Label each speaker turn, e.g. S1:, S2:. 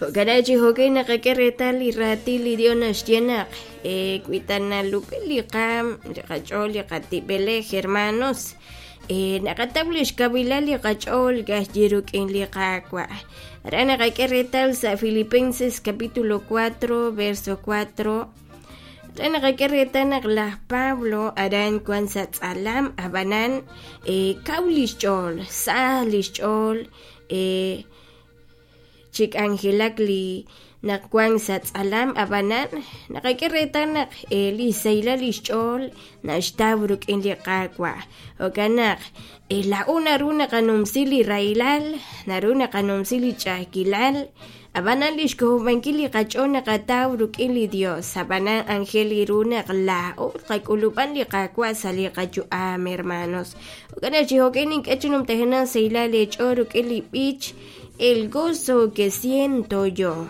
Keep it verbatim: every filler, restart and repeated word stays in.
S1: Jo'kan chi jo'kan naqak'e reetal li raatin li Dios naxye naq eh, wi ta nalub'el li qaam li qach'ool li qatib'elej hermanos eh, naqataw lix kawilal li qach'ool ka'ajwi' rik'in li Qaawa'. Aran naqak'e reetal sa' Filipenses capítulo cuatro verso cuatro. Aran naqak'e reetal naq laj Pablo aran wan sa' tz'alam ab'anan eh, kaw lix ch'ool, sa lix ch'ool eh, chi k'anjelak li naq wan sa' tz'alam ab'anan naqak'e reetal naq eh, li sahilal lix ch'ool naxtaw rik'in li Qaawa'. Jo'kan naq eh, laa'o naru naqanumsi li rahilal, naru naqanumsi li ch'a'ajkilal, ab'anan lix k'ojob'ankil li qach'ool naqataw rik'in li Dios. Ab'anan anjel ru naq laa'o qak'ulub'an li Qaawa' sa' li qayu'am, hermanos. Jo'kan naq chi jo'kan nink'e chi numtajenaq sahilal eech'ool rik'in li b'ich El gozo que siento yo.